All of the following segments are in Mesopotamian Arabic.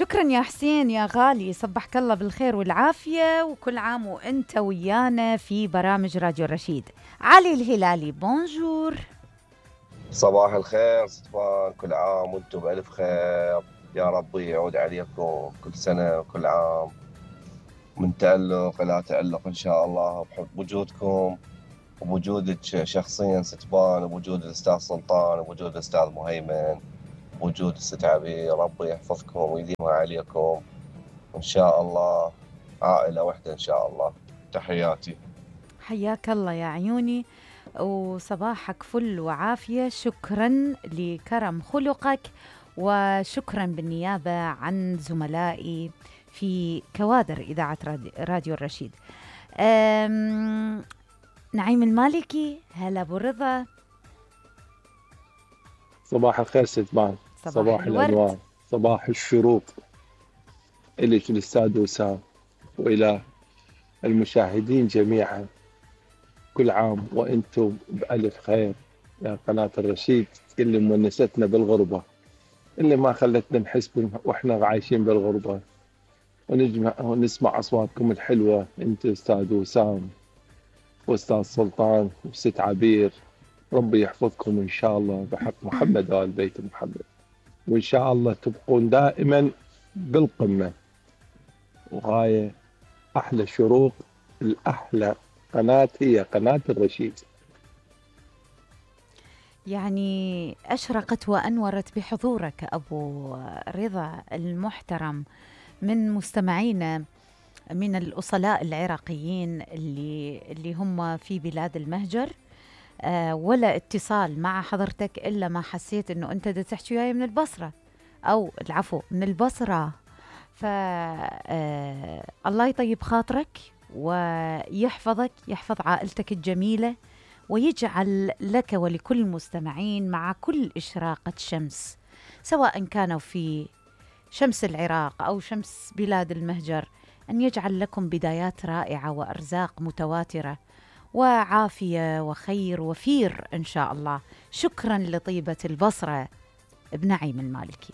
شكرا يا حسين يا غالي، صبحك الله بالخير والعافية، وكل عام وانت ويانا في برامج راديو رشيد. علي الهلالي بونجور. صباح الخير ستفان، كل عام وانتم بألف خير. يا رب يعود عليكم كل سنة وكل عام من تألق إلى تألق إن شاء الله، بحب وجودكم وبوجودك شخصيا ستفان، وبوجود الأستاذ سلطان، وبوجود الأستاذ مهيمن، وبوجود الست عبير. ربي يحفظكم ويديمها عليكم إن شاء الله، عائلة واحدة إن شاء الله. تحياتي. حياك الله يا عيوني، وصباحك فل وعافية. شكرا لكرم خلقك، وشكرا بالنيابة عن زملائي في كوادر إذاعة راديو الرشيد. نعيم المالكي، هلا أبو رضا. صباح الخير ستبان، صباح الأنوار، صباح الشروق إليك الأستاذ وسام، وإلى المشاهدين جميعا. كل عام وأنتم بألف خير يا قناة الرشيد، اللي مونستنا بالغربة، اللي ما خلتنا نحس وإحنا عايشين بالغربة، ونسمع أصواتكم الحلوة، أنت أستاذ وسام وأستاذ سلطان وست عبير. ربي يحفظكم إن شاء الله بحق محمد وآل بيت محمد، وإن شاء الله تبقون دائما بالقمة. وهاي أحلى شروق، الأحلى قناة هي قناة الرشيد. يعني أشرقت وأنورت بحضورك أبو رضا المحترم من مستمعينا من الأصلاء العراقيين اللي هم في بلاد المهجر. ولا اتصال مع حضرتك إلا ما حسيت أنه أنت دا تحكي وياي من البصرة، أو العفو من البصرة. الله يطيب خاطرك ويحفظك، يحفظ عائلتك الجميلة، ويجعل لك ولكل المستمعين مع كل إشراقة شمس، سواء كانوا في شمس العراق أو شمس بلاد المهجر، أن يجعل لكم بدايات رائعة وأرزاق متواترة وعافية وخير وفير إن شاء الله. شكرا لطيبة البصرة ابن نعيم المالكي.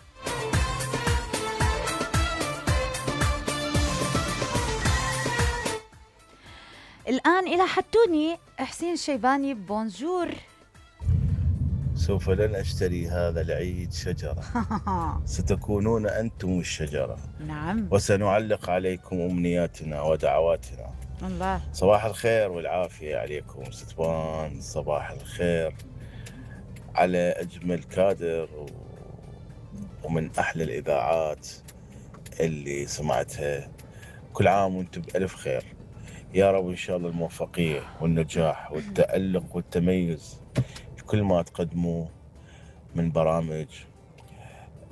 الآن إلى حتوني حسين الشيباني بونجور. سوف لن أشتري هذا العيد شجرة ستكونون أنتم الشجرة. نعم. وسنعلق عليكم أمنياتنا ودعواتنا. الله. صباح الخير والعافية عليكم ستفان، صباح الخير على أجمل كادر ومن أحلى الإذاعات اللي سمعتها. كل عام وانتم بألف خير يا رب، إن شاء الله الموفقية والنجاح والتألق والتميز كل ما تقدموا من برامج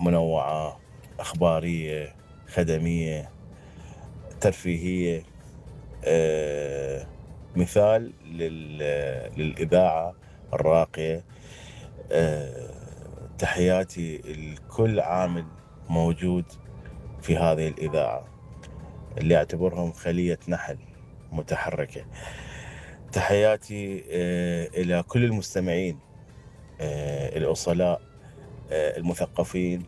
منوعة، أخبارية، خدمية، ترفيهية، مثال للإذاعة الراقية. تحياتي لكل عامل موجود في هذه الإذاعة اللي أعتبرهم خلية نحل متحركة. تحياتي إلى كل المستمعين الأصلاء المثقفين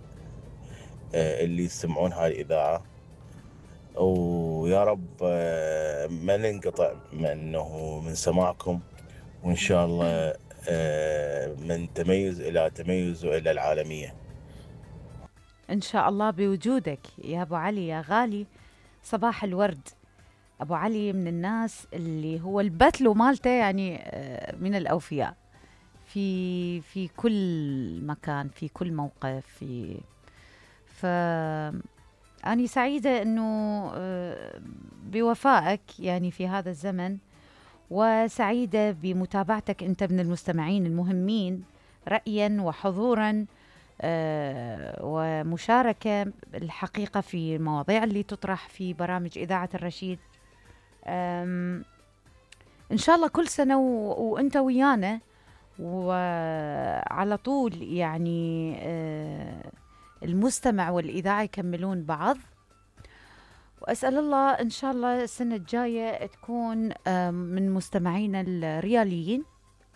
اللي يسمعون هاي الإذاعة، ويا رب ما ننقطع من سماعكم، وإن شاء الله من تميز إلى تميز وإلى العالمية إن شاء الله بوجودك يا أبو علي يا غالي. صباح الورد. أبو علي من الناس اللي هو البتلو مالته يعني من الأوفياء في كل مكان، في كل موقف. أنا سعيدة أنه بوفائك يعني في هذا الزمن، وسعيدة بمتابعتك أنت من المستمعين المهمين رأيا وحضورا ومشاركة الحقيقة في المواضيع اللي تطرح في برامج إذاعة الرشيد. إن شاء الله كل سنة وأنت ويانا وعلى طول، يعني المستمع والإذاعة يكملون بعض. وأسأل الله إن شاء الله السنة الجاية تكون من مستمعينا الرياليين